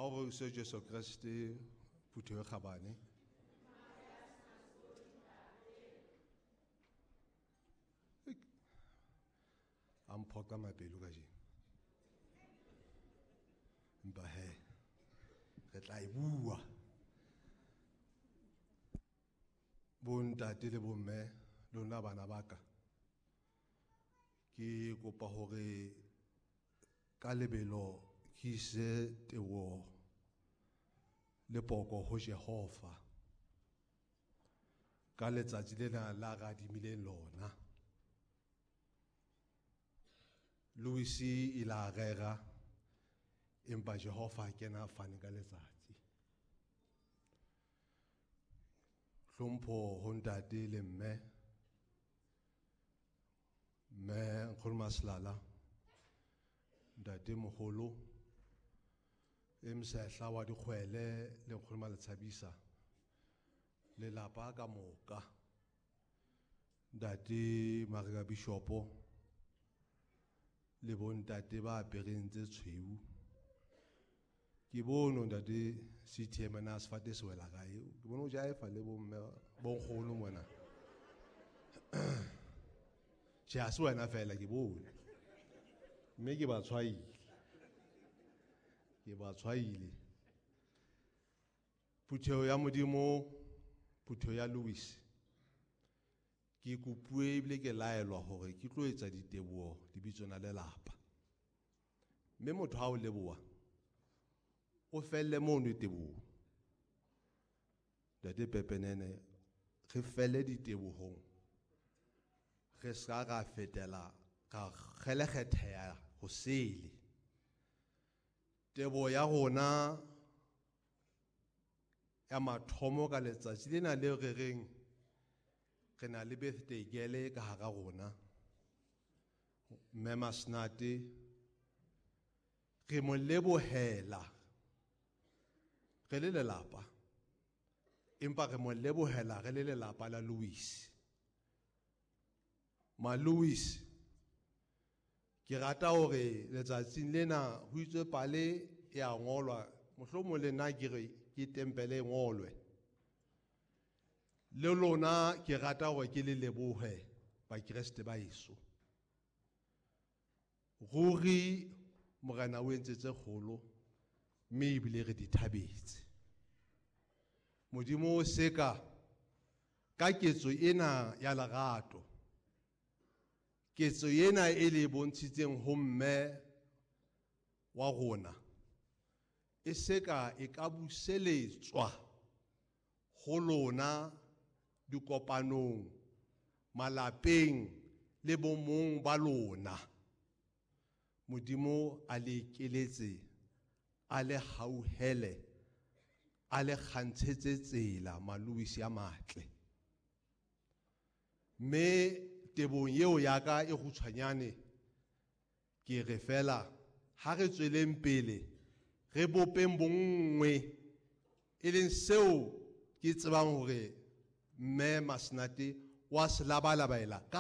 Ha o re se Jesu Kreste phutheho e kgabane. A mphoqa mapelo kajeno. Empa he re tla e bua. Bontate le bomme lona bana ba ka. Ke kopa hore ka lebelo ke ise teboho le poko ho Jehova ka letsatsi lena la radimileng lona. Louis ile a rera empa Jehova a kena a fane ka letsatsi. Hlompho ho ntate le mme, mme Nkgono Maselala, ntate moholo e msehla wa dikgwele le Nkgono Maletshabisa, lelapa ka moka, ntate Mareka Bishopo le bontate ba apereng tse tshweu. Ke bone ntate CTM na sefate se wela kae, ke bone o jaefa le bomme bonkgono mona. Tjhe, ha se wena fela, ke bone mme ke ba tshwaile, ke ba tshwaile. Phutheho ya Modimo, phutheho ya Louis, ke kopuwe ebile ke laelwa hore ke tlo etsa diteboho lebitsong la lelapa. Mme motho ha o leboha o felle mono teboho. Ntate Pepenene, re felle ditebohong, re ska ra fetela ra kgelekgetheha ho sele. Teboho ya rona ya mathomo ka letsatsi lena le re reng re na le birthday girl ka hara rona, Mme Masenate, re mo lebohela re le lelapa, empa re mo lebohela re le lelapa la Louis. Ma Louis, ke rata hore letsatsing lena ho itswe pale e a ngolwa, mohlomong le nna ke re ke tempele e ngolwe. Le lona ke rata hore ke le lebohe Bakreste ba heso. Ruri Morena o entse tse kgolo mme ebile re di thabetse. Modimo o seka ka ketso ena ya lerato, ketso ena e le bontshitseng ho mme wa rona, e seka e ka buseletswa ho lona dikopanong, malapeng le bomong ba lona. Modimo a le ekeletse, a le hauhele, a le kgantshetse tsela Malouis a matle. Mme tebong eo ya ka e kgutshwanyane, ke re fela ha re tsweleng pele re bopeng bonngwe, e leng seo ke tsebang hore mme Masenate wa se labalabaela ka